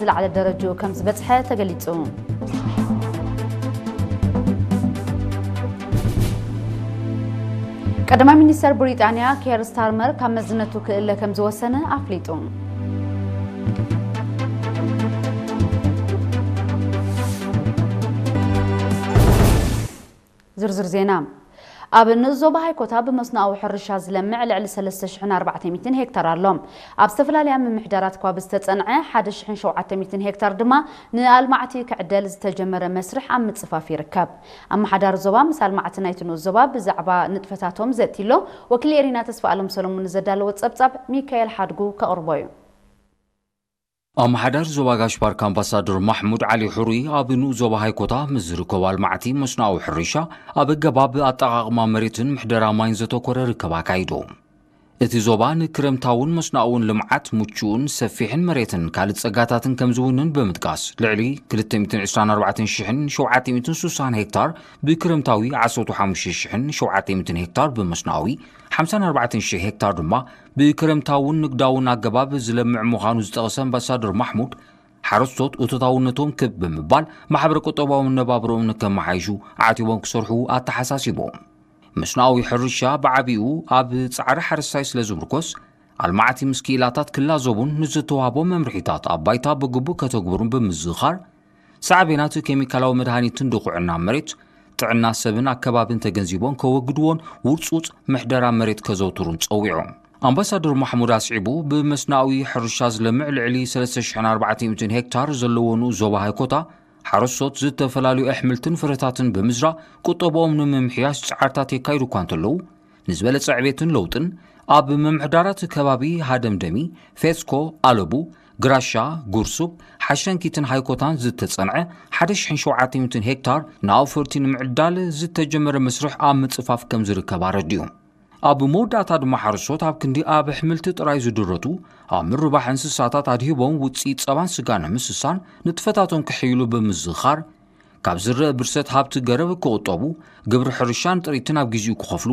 ዝለዓለ ደረጃኡ ከም ዝበጽሐ ተገሊጹ። ቀዳማይ ሚኒስተር ብሪጣንያ ኬር ስታርመር ካብ መዝነቱ ክእለ ከም ዝወሰነ ኣፍሊጡ። ዝርዝር ዜና። ኣብ ንኡስ ዞባ ሃይኮታ ብመስኖኣዊ ሕርሻ ዝለምዕ ልዕሊ ሰለስተ ሽሕን ኣርባዕተ ሚእትን ሄክታር ኣሎ። ኣብ ዝተፈላለያ ምምሕዳራት ኳብ ዝተጸንዐ ሓደ ሽሕን ሸውዓተ ሚእትን ሄክታር ድማ ንኣልማዕቲ ክዕደል ዝተጀመረ መስርሕ ኣብ ምጽፋፍ ይርከብ። ኣመሓዳሪ ዞባ ምስ ኣልማዕቲ ናይቲ ንኡስ ዞባ ብዛዕባ ንጥፈታቶም ዘእትይሎ ወኪል ኤሪና ተስፋኣለም ሰሎሞን ንዘዳለዎ ጸብጻብ ሚካኤል ሓድጉ ከቕርቦ እዩ። ኣመሓዳሪ ዞባ ጋሽ ባርካ ኣምባሳደር ማሕሙድ ዓሊ ሕሩይ ኣብ ንኡስ ዞባ ሃይኮታ ምስ ዝርከቡ ኣልማዕቲ መስኖኣዊ ሕርሻ ኣብ ኣገባብ ኣጠቓቕማ መሬትን ምሕደራ ማይን ዘተኮረ ርክብ ኣካይዱ። እቲ ዞባ ንክረምታውን መስኖኣውን ልምዓት ምቹእን ሰፊሕን መሬትን ካልእ ጸጋታትን ከም ዝውንን ብምጥቃስ፣ ልዕሊ ክልተ ሚእትን ዕስራን ኣርባዕተን ሽሕን ሸውዓተ ሚእትን ስሳን ሄክታር ብክረምታዊ፣ ዓሰርተ ሓሙሽተ ሽሕን ሸውዓተ ሚእትን ሄክታር ብመስኖኣዊ፣ ሓምሳን ኣርባዕተን ሽሕ ሄክታር ድማ ብክረምታውን ንግዳውን ኣገባብ ዝለምዕ ምዃኑ ዝጠቐሰ ኣምባሳደር ማሕሙድ፣ ሓረስቶት እቶታውነቶም ክብ ብምባል ማሕበረ ቁጠባዊ መነባብሮኦም ንከመሓይሹ ዓቲቦም ክሰርሑ ኣተሓሳሲቦም። መስኖኣዊ ሕርሻ ብዓቢኡ ኣብ ጻዕሪ ሓረስታይ ስለ ዝምርኮስ፣ ኣልማዕቲ ምስ ክኢላታት ክላዘቡን ንዝተዋህቦም መምርሒታት ኣብ ባይታ ብግቡእ ከተግብሩን ብምዝኻር፣ ሳዕቤናት ኬሚካላዊ መድሃኒትን ድኹዕና መሬት፣ ጥዕና ሰብን ኣከባብን ተገንዚቦም ከወግድዎን ውርጹጽ ምሕደራ መሬት ከዘውትሩን ጸዊዖም። ኣምባሳደር ማሕሙድ ኣስዒቡ፣ ብመስናዊ ሕርሻ ዝለምዕ ልዕሊ ሰለስተ ሽሕን ኣርባዕተ ሚእትን ሄክታር ዘለዎ ንኡስ ዞባ ሃይኮታ፣ ሓረስቶት ዝተፈላለዩ ኣሕምልትን ፍረታትን ብምዝራእ ቁጠብኦም ንምምሕያሽ ጻዕርታት የካይዱ እኳ እንተለዉ፣ ንዝበለጸ ዕቤትን ለውጥን ኣብ ምምሕዳራት ከባቢ ሃደምደሚ፣ ፌስኮ፣ ኣለቡ፣ ግራሻ፣ ጉርሱብ፣ ሓሸንኪትን ሃይኮታን ዝተጸንዐ ሓደ ሽሕን ሸውዓተ ሚእትን ሄክታር ንኣውፈርቲ ንምዕዳል ዝተጀመረ መስርሕ ኣብ ምጽፋፍ ከም ዝርከብ ኣረዲኡ። ኣብ መወዳእታ ድማ ሓረስቶት ኣብ ክንዲ ኣብ ኣሕምልቲ ጥራይ ዝድረቱ፣ ኣብ ምርባሕ እንስሳታት ኣድሂቦም ውጽኢት ጸባን ስጋን ንምስሳን ንጥፈታቶም ክሕይሉ ብምዝኻር፣ ካብ ዝረአ ብርሰት ሃብቲ ገረብ ክቑጠቡ፣ ግብሪ ሕርሻን ጥሪትን ኣብ ግዜኡ ክኸፍሉ፣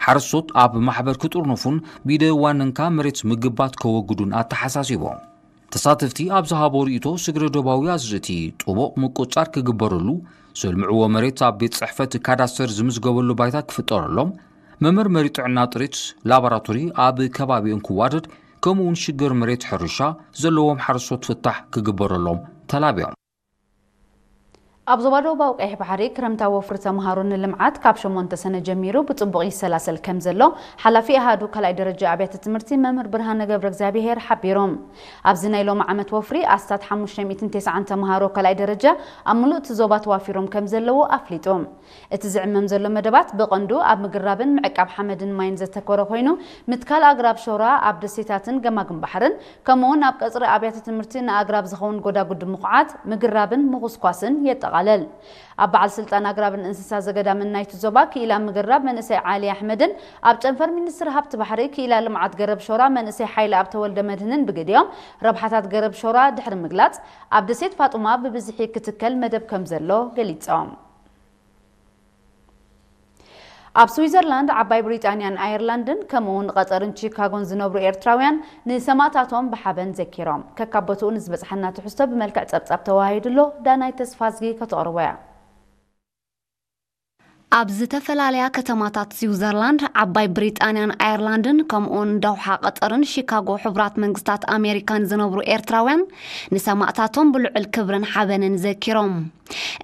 ሓረስቶት ኣብ ማሕበር ክጥርንፉን ብኢደ ዋንንካ መሬት ምግባት ከወግዱን ኣተሓሳሲቦም። ተሳተፍቲ ኣብ ዝሃቦ ርእይቶ፣ ስግረ ዶባዊ ኣዝርእቲ ጥቡቕ ምቁጽጻር ክግበረሉ፣ ዘልምዕዎ መሬት ኣብ ቤት ጽሕፈት ካዳስተር ዝምዝገበሉ ባይታ ክፍጠረሎም፣ መመርመሪ ጥዕና ጥሪት ላቦራቶሪ ኣብ ከባቢኦም ክዋደድ፣ ከምኡውን ሽግር መሬት ሕርሻ ዘለዎም ሓረስቶት ፍታሕ ክግበረሎም ተላብዮም። ኣብ ዞባ ደቡባዊ ቀይሕ ባሕሪ ክረምታዊ ወፍሪ ተምሃሮ ንልምዓት ካብ ሸሞንተ ሰነ ጀሚሩ ብጽቡቕ ይሰላሰል ከም ዘሎ ሓላፊ ኣሃዱ ካልኣይ ደረጃ ኣብያተ ትምህርቲ መምህር ብርሃነ ገብረ እግዚኣብሄር ሓቢሮም። ኣብዚ ናይ ሎሚ ዓመት ወፍሪ ኣስታት ሓሙሽተ ሚእትን ተስዓን ተምሃሮ ካልኣይ ደረጃ ኣብ ምሉእ እቲ ዞባ ተዋፊሮም ከም ዘለዉ ኣፍሊጡ። እቲ ዝዕመም ዘሎ መደባት ብቐንዱ ኣብ ምግራብን ምዕቃብ ሓመድን ማይን ዘተኮረ ኮይኑ፣ ምትካል ኣግራብ ሾራ ኣብ ደሴታትን ገማግም ባሕርን፣ ከምኡውን ኣብ ቀጽሪ ኣብያተ ትምህርቲ ንኣግራብ ዝኸውን ጎዳጉዲ ምኹዓት፣ ምግራብን ምኹስኳስን የጠቓልል። ኣብ በዓል ስልጣን ኣግራብን እንስሳ ዘገዳምን ናይቲ ዞባ ክኢላ ምግራብ መንእሰይ ዓሊ ኣሕመድን ኣብ ጨንፈር ሚኒስትሪ ሃብቲ ባሕሪ ክኢላ ልምዓት ገረብ ሾራ መንእሰይ ሓይለ ኣብ ተወልደ መድህንን ብግዲኦም፣ ረብሓታት ገረብ ሾራ ድሕሪ ምግላጽ፣ ኣብ ደሴት ፋጡማ ብብዝሒ ክትከል መደብ ከም ዘሎ ገሊጾም። ኣብ ስዊዘርላንድ፣ ዓባይ ብሪጣንያን ኣየርላንድን ከምኡውን ቐጠርን ቺካጎን ዝነብሩ ኤርትራውያን ንሰማእታቶም ብሓበን ዘኪሮም። ከካብ ቦትኡ ንዝበጽሓና ትሕዝቶ ብመልክዕ ጸብጻብ ተዋሂዱ ኣሎ። ዳናይ ተስፋዝጊ ከተቕርቦ እያ። ኣብ ዝተፈላለያ ከተማታት ስዊዘርላንድ፣ ዓባይ ብሪጣንያን ኣየርላንድን ከምኡውን ዳውሓ ቐጠርን ሺካጎ ሕቡራት መንግስታት ኣሜሪካን ዝነብሩ ኤርትራውያን ንሰማእታቶም ብልዑል ክብርን ሓበንን ዘኪሮም።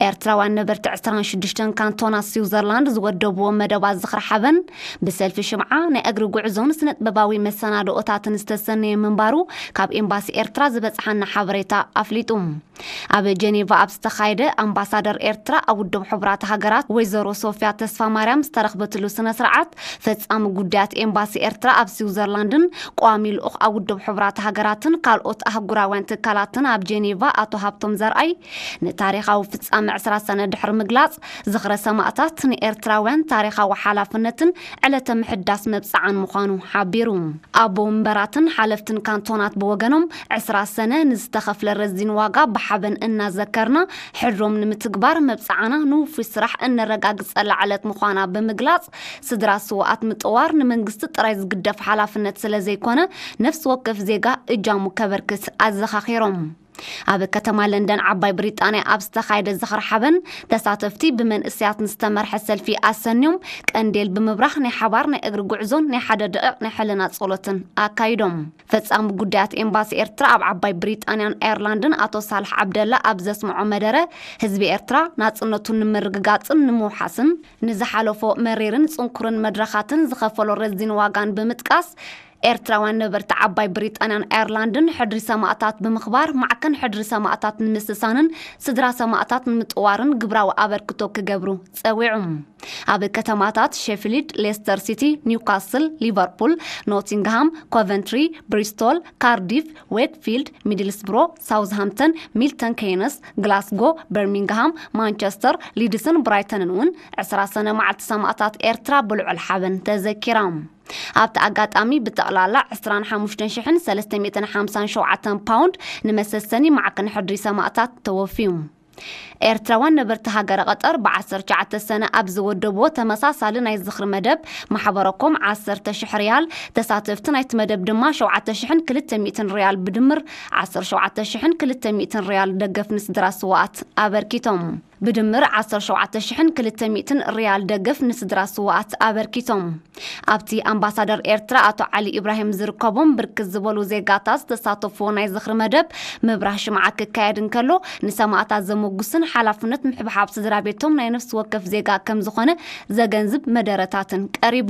ኤርትራውያን ነበርቲ ዕስራን ሽዱሽተን ካንቶናት ስዊዘርላንድ ዝወደብዎ መደባት ዝኽሪ ሓበን ብሰልፊ ሽምዓ፣ ናይ እግሪ ጉዕዞን ስነ-ጥበባዊ መሰናድኦታትን ዝተሰነየ ምንባሩ ካብ ኤምባሲ ኤርትራ ዝበጽሓና ሓበሬታ ኣፍሊጡ። ኣብ ጀኔቫ ኣብ ዝተኻየደ ኣምባሳደር ኤርትራ ኣብ ውድብ ሕቡራት ሃገራት ወይዘሮ ሶፍያ ተስፋ ማርያም ዝተረኽበትሉ ስነ ስርዓት፣ ፈጻሚ ጉዳያት ኤምባሲ ኤርትራ ኣብ ስዊዘርላንድን ቋሚ ልኡኽ ኣብ ውድብ ሕቡራት ሃገራትን ካልኦት ኣህጉራውያን ትካላትን ኣብ ጀኔቫ ኣቶ ሃብቶም ዘርኣይ፣ ንታሪኻዊ ፍጻመ ዕስራ ሰነ ድሕሪ ምግላጽ፣ ዝኽረ ሰማእታት ንኤርትራውያን ታሪኻዊ ሓላፍነትን ዕለተ ምሕዳስ መብጽዓን ምዃኑ ሓቢሩ። ኣቦ ወንበራትን ሓለፍትን ካንቶናት ብወገኖም፣ ዕስራ ሰነ ንዝተኸፍለ ረዚን ዋጋ ብሓበን እናዘከርና፣ ሕድሮም ንምትግባር መብጽዓና ንውፉይ ስራሕ እነረጋግጸላ ዕለት ምዃና ብምግላጽ፣ ስድራ ስውኣት ምጥዋር ንመንግስቲ ጥራይ ዝግደፍ ሓላፍነት ስለ ዘይኮነ፣ ነፍሲ ወከፍ ዜጋ እጃሙ ከበርክት ኣዘኻኺሮም። ኣብ ከተማ ለንደን ዓባይ ብሪጣንያ ኣብ ዝተኻየደ ዝኽሪ ሓበን፣ ተሳተፍቲ ብመንእሰያት ንዝተመርሐ ሰልፊ ኣሰንዮም ቀንዴል ብምብራህ ናይ ሓባር ናይ እግሪ ጉዕዞን ናይ ሓደ ደቂቕ ናይ ሕልና ጸሎትን ኣካይዶም። ፈጻሚ ጉዳያት ኤምባሲ ኤርትራ ኣብ ዓባይ ብሪጣንያን ኣየርላንድን ኣቶ ሳልሕ ዓብደላ ኣብ ዘስምዖ መደረ፣ ህዝቢ ኤርትራ ናጽነቱን ንምርግጋጽን ንምውሓስን ንዝሓለፎ መሪርን ጽንኩርን መድረኻትን ዝኸፈሎ ረዚን ዋጋን ብምጥቃስ፣ ኤርትራውያን ነበርቲ ዓባይ ብሪጣንያን ኣየርላንድን ሕድሪ ሰማእታት ብምኽባር፣ ማዕከን ሕድሪ ሰማእታት ንምስሳንን ስድራ ሰማእታት ንምጥዋርን ግብራዊ ኣበርክቶ ክገብሩ ጸዊዑ። ኣብ ከተማታት ሼፊልድ፣ ሌስተር ሲቲ፣ ኒውካስል፣ ሊቨርፑል፣ ኖቲንግሃም፣ ኮቨንትሪ፣ ብሪስቶል፣ ካርዲፍ፣ ዌክፊልድ፣ ሚድልስብሮ፣ ሳውዝሃምፕተን፣ ሚልተን ኬይነስ፣ ግላስጎ፣ በርሚንግሃም፣ ማንቸስተር፣ ሊድስን ብራይተንን እውን ዕስራ ሰነ መዓልቲ ሰማእታት ኤርትራ ብልዑል ሓበን ተዘኪራ። ኣብቲ ኣጋጣሚ ብጠቕላላ ዕስራን ሓሙሽተን ሽሕን ሰለስተ ሚእትን ሓምሳን ሸውዓተን ፓውንድ ንመሰሰኒ ማዕከን ሕድሪ ሰማእታት ተወፍዩ። ኤርትራውያን ነበርቲ ሃገረ ቀጠር ብዓሰርተ ትሽዓተ ሰነ ኣብ ዝወደብዎ ተመሳሳሊ ናይ ዝኽሪ መደብ ማሕበረኮም ዓሰርተ ሽሕ ሪያል፣ ተሳተፍቲ ናይቲ መደብ ድማ ሸውዓተ ሽሕን ክልተ ሚእትን ሪያል፣ ብድምር ዓሰርተ ሸውዓተ ሽሕን ክልተ ሚእትን ሪያል ደገፍ ንስድራ ስውኣት ኣበርኪቶም። ብድምር ዓሰርተ ሸውዓተ ሽሕን ክልተ ሚእትን ሪያል ደገፍ ንስድራ ስውኣት ኣበርኪቶም። ኣብቲ ኣምባሳደር ኤርትራ ኣቶ ዓሊ ኢብራሂም ዝርከቦም ብርክት ዝበሉ ዜጋታት ዝተሳተፍዎ ናይ ዝኽሪ መደብ ምብራህ ሽምዓ ክካየድ እንከሎ፣ ንሰማእታት ዘመጉስን ሓላፍነት ምሕብሓብ ስድራ ቤቶም ናይ ነፍሲ ወከፍ ዜጋ ከም ዝኾነ ዘገንዝብ መደረታትን ቀሪቡ።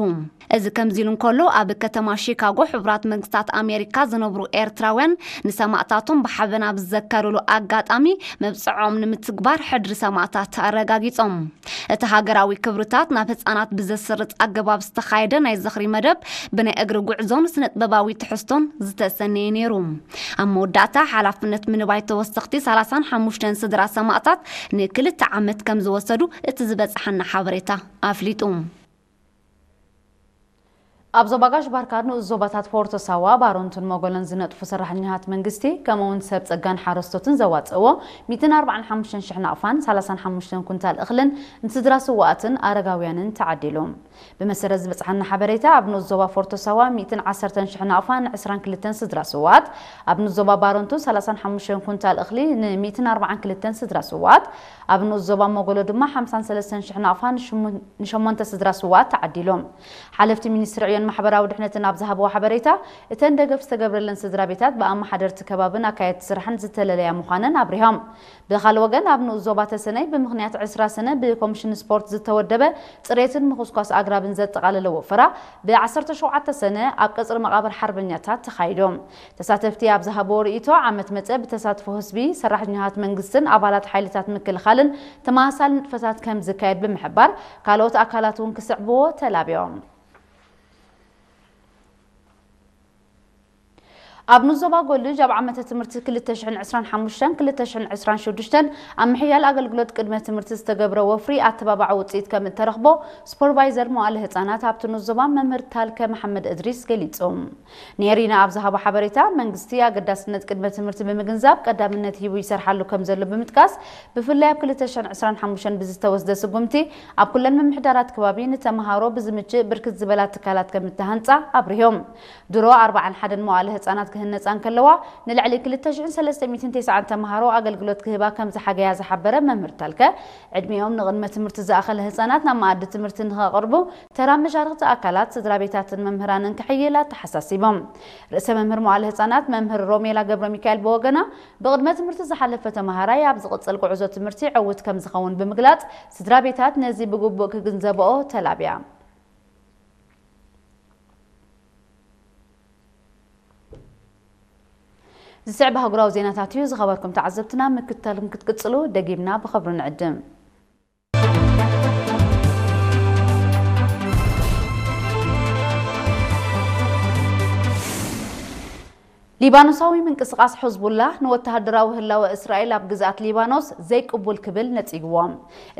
እዚ ከምዚ ኢሉ እንከሎ፣ ኣብ ከተማ ሺካጎ ሕቡራት መንግስታት ኣሜሪካ ዝነብሩ ኤርትራውያን ንሰማእታቶም ብሓበን ኣብ ዝዘከርሉ ኣጋጣሚ፣ መብጽዖም ንምትግባር ሕድሪ ሰማእታት ኣረጋጊጾም። እቲ ሃገራዊ ክብርታት ናብ ህጻናት ብዘስርጽ ኣገባብ ዝተኻየደ ናይ ዝኽሪ መደብ፣ ብናይ እግሪ ጉዕዞን ስነ-ጥበባዊ ትሕዝቶን ዝተሰነየ ነይሩ። ኣብ መወዳእታ፣ ሓላፍነት ምንባይ ተወሰኽቲ ሰላሳን ሓሙሽተን ስድራ ሰማእታት ንክልተ ዓመት ከም ዝወሰዱ እቲ ዝበጽሓና ሓበሬታ ኣፍሊጡ። ኣብ ዞባ ጋሽ ባርካ ንኡስ ዞባታት ፎርቶ ሳዋ፣ ባሮንቱን መጎሎን ዝነጥፉ ሰራሕተኛታት መንግስቲ፣ ከምኡውን ሰብ ጸጋን ሓረስቶትን ዘዋጽእዎ ሚእትን ኣርባዓን ሓሙሽተን ሽሕ ናቕፋን ሰላሳን ሓሙሽተን ኩንታል እኽልን ንስድራ ስውኣትን ኣረጋውያንን ተዓዲሉ። ብመሰረት ዝበጽሓና ሓበሬታ፣ ኣብ ንኡስ ዞባ ፎርቶ ሳዋ ሚእትን ዓሰርተን ሽሕ ናቕፋን ዕስራን ክልተን ስድራ ስውኣት፣ ኣብ ንኡስ ዞባ ባሮንቱ ሰላሳን ሓሙሽተን ኩንታል እኽሊ ንሚእትን ኣርባዓን ክልተን ስድራ ስውኣት፣ ኣብ ንኡስ ዞባ መጎሎ ድማ ሓምሳን ሰለስተን ሽሕ ናቕፋ ንሽሙ-፣ ንሸሞንተ ስድራ ስውኣት ተዓዲሎም። ሓለፍቲ ሚኒስትሪ ዕዮን ማሕበራዊ ድሕነትን ኣብ ዝሃብዎ ሓበሬታ፣ እተን ደገፍ ዝተገብረለን ስድራ ቤታት ብኣመሓደርቲ ከባብን ኣካየድቲ ስራሕን ዝተለለያ ምዃነን ኣብሪሆም። ብኻልእ ወገን፣ ኣብ ንኡስ ዞባ ተሰነይ ብምኽንያት ዕስራ ሰነ ብኮሚሽን ስፖርት ዝተወደበ ጽሬትን ምኹስኳስ ኣግራብን ዘጠቓለለ ወፈራ፣ ብ ዓሰርተ ሸውዓተ ሰነ ኣብ ቀጽሪ መቓብር ሓርበኛታት ተኻይዶም። ተሳተፍቲ ኣብ ዝሃብዎ ርእይቶ፣ ዓመት መጸ ብተሳትፎ ህዝቢ፣ ሰራሕተኛታት መንግስትን ኣባላት ሓይልታት ምክልኻልን ተመሳሳሊ ንጥፈታት ከም ዝካየድ ብምሕባር፣ ካልኦት ኣካላት እውን ክስዕብዎ ተላብዮም። ኣብ ንዞባ ጎልጅ ኣብ ዓመተ ትምህርቲ ክልተ ሽሕን ዕስራን ሓሙሽተን ክልተ ሽሕን ዕስራን ሽዱሽተን ኣብ ምሕያል ኣገልግሎት ቅድመ ትምህርቲ ዝተገብረ ወፍሪ ኣተባባዒ ውፅኢት ከም እተረኽቦ ሱፐርቫይዘር መዋእለ ህፃናት ኣብቲ ንዞባ መምህር ታልከ መሓመድ እድሪስ ገሊጹ። ኔሪና ኣብ ዝሃቦ ሓበሬታ፣ መንግስቲ ኣገዳስነት ቅድመ ትምህርቲ ብምግንዛብ ቀዳምነት ሂቡ ይሰርሓሉ ከም ዘሎ ብምጥቃስ፣ ብፍላይ ኣብ ክልተ ሽሕን ዕስራን ሓሙሽተን ብዝተወስደ ስጉምቲ ኣብ ኩለን ምምሕዳራት ከባቢ ንተምሃሮ ብዝምችእ ብርክት ዝበላ ትካላት ከም እተሃንጻ ኣብሪሆም። ድሮ ኣርባዓን ሓደን መዋእለ ህጻናት ክህነጻ እንከለዋ፣ ንልዕሊ ክልተ ሽሕን ሰለስተ ሚእትን ተስዓን ተምሃሮ ኣገልግሎት ክህባ ከም ዝሓገያ ዝሓበረ መምህር ታልከ፣ ዕድሚኦም ንቕድመ ትምህርቲ ዝኣኸለ ህጻናት ናብ መኣዲ ትምህርቲ ንኸቕርቡ ተራ መሻርኽቲ ኣካላት፣ ስድራ ቤታትን መምህራንን ክሕይል ኣተሓሳሲቦም። ርእሰ መምህር መዋእለ ህጻናት መምህር ሮሜላ ገብረ ሚካኤል ብወገና፣ ብቕድመ ትምህርቲ ዝሓለፈ ተምሃራይ ኣብ ዝቕጽል ጉዕዞ ትምህርቲ ዕዉት ከም ዝኸውን ብምግላጽ፣ ስድራ ቤታት ነዚ ብግቡእ ክግንዘብኦ ተላብያ። ዝስዕብ ኣህጉራዊ ዜናታት እዩ። ዝኸበርኩም ተዓዘብትና፣ ምክትታልኩም ክትቅጽሉ ደጊምና ብኽብሪ ንዕድም። ሊባኖሳዊ ምንቅስቓስ ሕዝቡላህ ንወተሃደራዊ ህላወ እስራኤል ኣብ ግዝኣት ሊባኖስ ዘይቅቡል ክብል ነጺግዎ።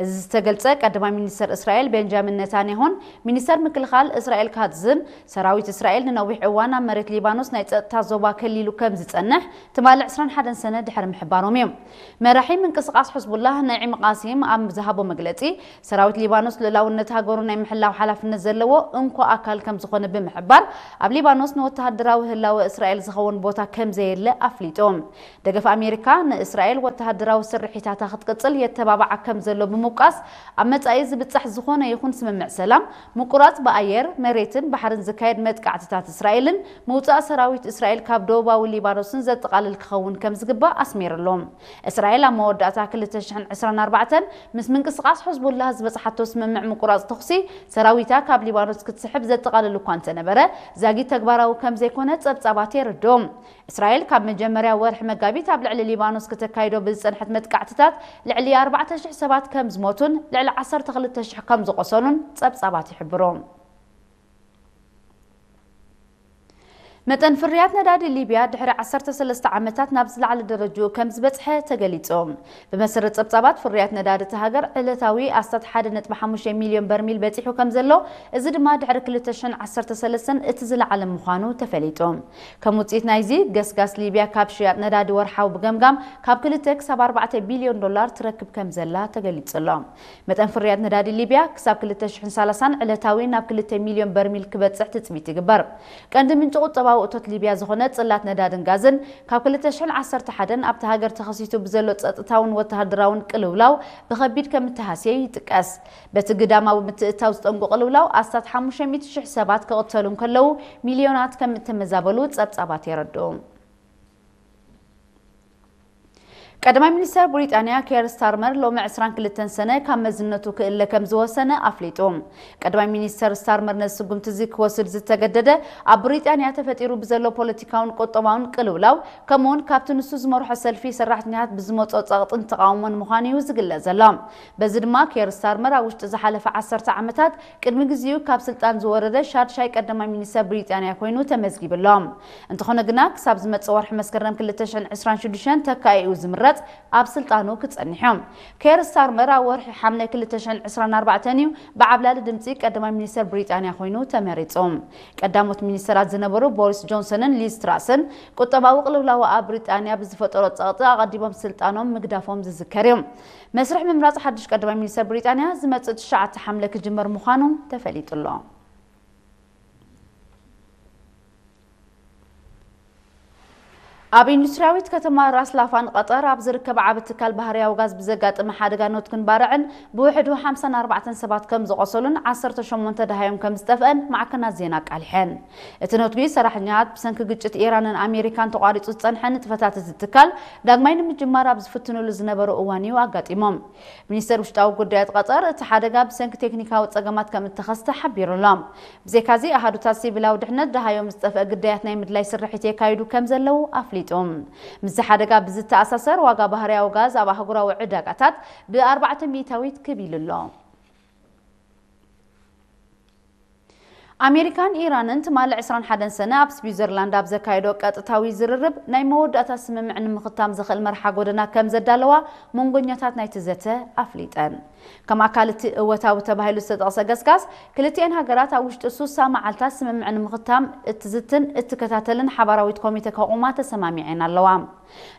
እዚ ዝተገልጸ ቀዳማይ ሚኒስተር እስራኤል ቤንጃሚን ነታንያሁን ሚኒስተር ምክልኻል እስራኤል ካትዝን፣ ሰራዊት እስራኤል ንነዊሕ እዋን ኣብ መሬት ሊባኖስ ናይ ጸጥታ ዞባ ከሊሉ ከም ዝጸንሕ ትማሊ ዕስራን ሓደን ሰነ ድሕሪ ምሕባሮም እዩ። መራሒ ምንቅስቓስ ሕዝቡላህ ነዒም ቃሲም ኣብ ዝሃቦ መግለጺ፣ ሰራዊት ሊባኖስ ልኡላውነት ሃገሩ ናይ ምሕላው ሓላፍነት ዘለዎ እንኮ ኣካል ከም ዝኾነ ብምሕባር፣ ኣብ ሊባኖስ ንወተሃደራዊ ህላወ እስራኤል ዝኸውን ቦታ ከም ዘየለ ኣፍሊጡ። ደገፍ ኣሜሪካ ንእስራኤል ወተሃደራዊ ስርሒታታ ክትቅጽል የተባብዓ ከም ዘሎ ብምውቃስ፣ ኣብ መጻኢ ዝብጻሕ ዝኾነ ይኹን ስምምዕ ሰላም ምቁራጽ ብኣየር፣ መሬትን ባሕርን ዝካየድ መጥቃዕትታት እስራኤልን ምውጻእ ሰራዊት እስራኤል ካብ ደቡባዊ ሊባኖስን ዘጠቓልል ክኸውን ከም ዝግባእ ኣስሚርሉ። እስራኤል ኣብ መወዳእታ ክልተ ሽሕን ዕስራን ኣርባዕተን ምስ ምንቅስቓስ ሕዝቡላህ ዝበጽሓቶ ስምምዕ ምቁራጽ ተኹሲ ሰራዊታ ካብ ሊባኖስ ክትስሕብ ዘጠቓልል እኳ እንተነበረ፣ ዛጊት ተግባራዊ ከም ዘይኮነ ጸብጻባት የረድኡ። እስራኤል ካብ መጀመርያ ወርሒ መጋቢት ኣብ ልዕሊ ሊባኖስ ክተካይዶ ብዝጸንሐት መጥቃዕትታት ልዕሊ ኣርባዕተ ሽሕ ሰባት ከም ዝሞቱን ልዕሊ ዓሰርተ ክልተ ሽሕ ከም ዝቖሰሉን ጸብጻባት ይሕብሩ። መጠን ፍርያት ነዳዲ ሊብያ ድሕሪ ዓሰርተ ሰለስተ ዓመታት ናብ ዝለዓለ ደረጅኡ ከም ዝበጽሐ ተገሊጹ። ብመሰረት ጸብጻባት ፍርያት ነዳዲ እቲ ሃገር ዕለታዊ ኣስታት ሓደ ነጥቢ ሓሙሽተ ሚልዮን በርሚል በጺሑ ከም ዘሎ፣ እዚ ድማ ድሕሪ ክልተ ሽሕን ዓሰርተ ሰለስተን እቲ ዝለዓለ ምዃኑ ተፈሊጡ። ከም ውጽኢት ናይዚ፣ ገስጋስ ሊብያ ካብ ሽያጥ ነዳዲ ወርሓዊ ብገምጋም ካብ ክልተ ክሳብ ኣርባዕተ ቢልዮን ዶላር ትረክብ ከም ዘላ ተገሊጹ ኣሎ። መጠን ፍርያት ነዳዲ ሊብያ ክሳብ ክልተ ሽሕን ሰላሳን ዕለታዊ ናብ ክልተ ሚልዮን በርሚል ክበጽሕ ትጽቢት ይግበር። ቀንዲ ምንጪ ቁጠባዊ እቶት ሊብያ ዝኾነ ጽላት ነዳድን ጋዝን ካብ ክልተ ሽሕን ዓሰርተ ሓደን ኣብቲ ሃገር ተኸሲቱ ብዘሎ ጸጥታውን ወተሃደራውን ቅልውላው ብኸቢድ ከም እተሃስየ ይጥቀስ። በቲ ግዳማዊ ምትእትታው ዝጠንቁ ቅልውላው ኣስታት ሓሙሽተ ሚእቲ ሽሕ ሰባት ክቕተሉ እንከለዉ፣ ሚልዮናት ከም እተመዛበሉ ጸብጻባት የረድኡ። ቀዳማይ ሚኒስተር ብሪጣንያ ኬር ስታርመር ሎሚ ዕስራን ክልተን ሰነ ካብ መዝነቱ ክእለ ከም ዝወሰነ ኣፍሊጡ። ቀዳማይ ሚኒስተር ስታርመር ነዚ ስጉምቲ እዚ ክወስድ ዝተገደደ፣ ኣብ ብሪጣንያ ተፈጢሩ ብዘሎ ፖለቲካውን ቁጠባውን ቅልውላው፣ ከምኡውን ካብቲ ንሱ ዝመርሖ ሰልፊ ሰራሕተኛታት ብዝመጾ ጸቕጥን ተቓውሞን ምዃኑ እዩ ዝግለጽ ዘሎ። በዚ ድማ ኬር ስታርመር ኣብ ውሽጢ ዝሓለፈ ዓሰርተ ዓመታት ቅድሚ ግዜኡ ካብ ስልጣን ዝወረደ ሻድሻይ ቀዳማይ ሚኒስተር ብሪጣንያ ኮይኑ ተመዝጊቡ ኣሎ። እንተኾነ ግና ክሳብ ዝመጽእ ወርሒ መስከረም ክልተ ሽሕን ዕስራን ሽዱሽተን ተካኢኡ ዝምረጽ ኣብ ስልጣኑ ክጸንሕ እዩ። ኬር ስታርመር ኣብ ወርሒ ሓምለ ክልተ ሽሕን ዕስራን ኣርባዕተን እዩ ብዓብላሊ ድምጺ ቀዳማይ ሚኒስተር ብሪጣንያ ኮይኑ ተመሪጹ። ቀዳሞት ሚኒስተራት ዝነበሩ ቦሪስ ጆንሰንን ሊዝ ትራስን ቁጠባዊ ቅልውላው ኣብ ብሪጣንያ ብዝፈጠሮ ጸቕጢ ኣቐዲሞም ስልጣኖም ምግዳፎም ዝዝከር እዩ። መስርሕ ምምራጽ ሓድሽ ቀዳማይ ሚኒስተር ብሪጣንያ ዝመጽእ ትሽዓተ ሓምለ ክጅመር ምዃኑ ተፈሊጡ ኣሎ። ኣብ ኢንዱስትሪያዊት ከተማ ራስ ላፋን ቀጠር ኣብ ዝርከብ ዓቢ ትካል ባህርያዊ ጋዝ ብዘጋጠመ ሓደጋ ኖትክን ባርዕን ብውሕዱ ሓምሳን ኣርባዕተን ሰባት ከም ዝቖሰሉን ዓሰርተ ሸሞንተ ደሃዮም ከም ዝጠፍአን ማዕከናት ዜና ኣቃሊሐን። እቲ ኖትጊ ሰራሕተኛታት ብሰንኪ ግጭት ኢራንን ኣሜሪካን ተቋሪጹ ዝጸንሐ ንጥፈታት እቲ ትካል ዳግማይ ንምጅማር ኣብ ዝፍትኑሉ ዝነበሩ እዋን እዩ ኣጋጢሞም። ሚኒስተር ውሽጣዊ ጉዳያት ቀጠር እቲ ሓደጋ ብሰንኪ ቴክኒካዊ ጸገማት ከም እተኸስተ ሓቢሩ ኣሎ። ብዘይካዚ ኣሃዱታት ሲቪላዊ ድሕነት ደሃዮም ዝጠፍአ ግዳያት ናይ ምድላይ ስርሒት የካይዱ ከም ዘለዉ ኣፍሊጡ። ምስዚ ሓደጋ ብዝተኣሳሰር ዋጋ ባህርያዊ ጋዝ ኣብ ኣህጉራዊ ዕዳጋታት ብኣርባዕተ ሚእታዊት ክብ ኢሉ ኣሎ። ኣሜሪካን ኢራንን ትማሊ ዕስራን ሓደን ሰነ ኣብ ስዊዘርላንድ ኣብ ዘካየዶ ቀጥታዊ ዝርርብ ናይ መወዳእታ ስምምዕ ንምኽታም ዘኽእል መርሓ ጎደና ከም ዘዳለዋ መንጎኛታት ናይቲ ዘተ ኣፍሊጠን። ከም ኣካል እቲ እወታዊ ተባሂሉ ዝተጠቕሰ ገስጋስ፣ ክልቲኤን ሃገራት ኣብ ውሽጢ ሱሳ መዓልታት ስምምዕ ንምኽታም እትዝትን እትከታተልን ሓባራዊት ኮሚተ ከቑማ ተሰማሚዐን ኣለዋ።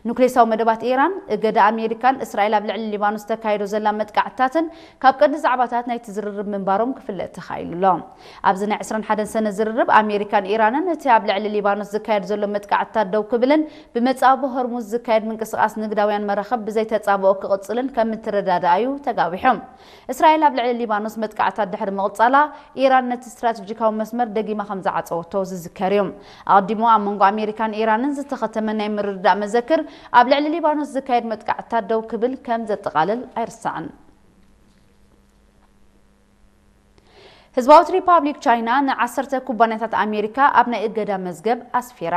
ኑክሌሳዊ መደባት ኢራን፣ እገዳ ኣሜሪካን እስራኤል ኣብ ልዕሊ ሊባኖስ ተካይዶ ዘላ መጥቃዕትታትን ካብ ቀንዲ ዛዕባታት ናይቲ ዝርርብ ምንባሮም ክፍለጥ ተኻኢሉ ኣሎ። ኣብዚ ናይ ዕስራን ሓደን ሰነ ዝርርብ ኣሜሪካን ኢራንን እቲ ኣብ ልዕሊ ሊባኖስ ዝካየድ ዘሎ መጥቃዕትታት ደው ክብልን ብመጻብቦ ሆርሙዝ ዝካየድ ምንቅስቓስ ንግዳውያን መራኽብ ብዘይተጻብኦ ክቕጽልን ከም እትረዳድኣዩ ተጋዊሑ። እስራኤል ኣብ ልዕሊ ሊባኖስ መጥቃዕታት ድሕሪ ምቕጻላ፣ ኢራን ነቲ ስትራተጂካዊ መስመር ደጊማ ከም ዝዓጸወቶ ዝዝከር እዩ። ኣቐዲሙ ኣብ መንጎ ኣሜሪካን ኢራንን ዝተኸተመ ናይ ምርድዳእ መዘክር፣ ኣብ ልዕሊ ሊባኖስ ዝካየድ መጥቃዕትታት ደው ክብል ከም ዘጠቓልል ኣይርሳዕን። ህዝባዊት ሪፓብሊክ ቻይና ንዓሰርተ ኩባንያታት ኣሜሪካ ኣብ ናይ እገዳ መዝገብ ኣስፊራ።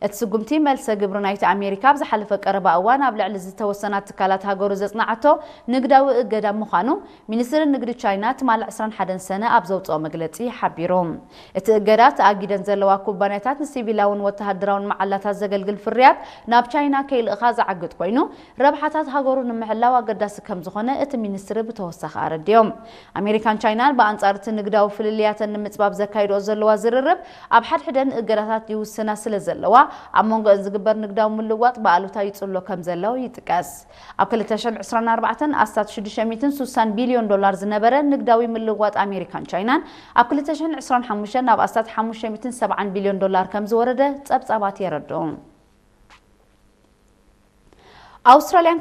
እቲ ስጉምቲ፣ መልሰ ግብሪ ናይቲ ኣሜሪካ ኣብ ዝሓለፈ ቀረባ እዋን ኣብ ልዕሊ ዝተወሰና ትካላት ሃገሩ ዘጽናዓቶ ንግዳዊ እገዳ ምዃኑ፣ ሚኒስትሪ ንግዲ ቻይና ትማሊ ዕስራን ሓደን ሰነ ኣብ ዘውጽኦ መግለጺ ሓቢሩ። እቲ እገዳ፣ ተኣጊደን ዘለዋ ኩባንያታት ንሲቪላውን ወተሃደራውን መዓላታት ዘገልግል ፍርያት ናብ ቻይና ከይልእኻ ዝዓግት ኮይኑ፣ ረብሓታት ሃገሩ ንምሕላው ኣገዳሲ ከም ዝኾነ እቲ ሚኒስትሪ ብተወሳኺ ኣረዲኦም። ኣሜሪካን ቻይናን ብኣንጻር እቲ ንግዳዊ ፍልልያተን ንምጽባብ ዘካይድኦ ዘለዋ ዝርርብ፣ ኣብ ሓድሕደን እገዳታት ይውስና ስለ ዘለዋ፣ ኣብ መንጎ ዝግበር ንግዳዊ ምልዋጥ ብኣሉታ ይጽሎ ከም ዘሎ ይጥቀስ። ኣብ ክልተ ሽሕን ዕስራን ኣርባዕተን ኣስታት ሽዱሽተ ሚእትን ሱሳን ቢልዮን ዶላር ዝነበረ ንግዳዊ ምልዋጥ ኣሜሪካን ቻይናን ኣብ ክልተ ሽሕን ዕስራን ሓሙሽተን ናብ ኣስታት ሓሙሽተ ሚእትን ሰብዓን ቢልዮን ዶላር ከም ዝወረደ ጸብጻባት የረድኡ። ኣውስትራልያን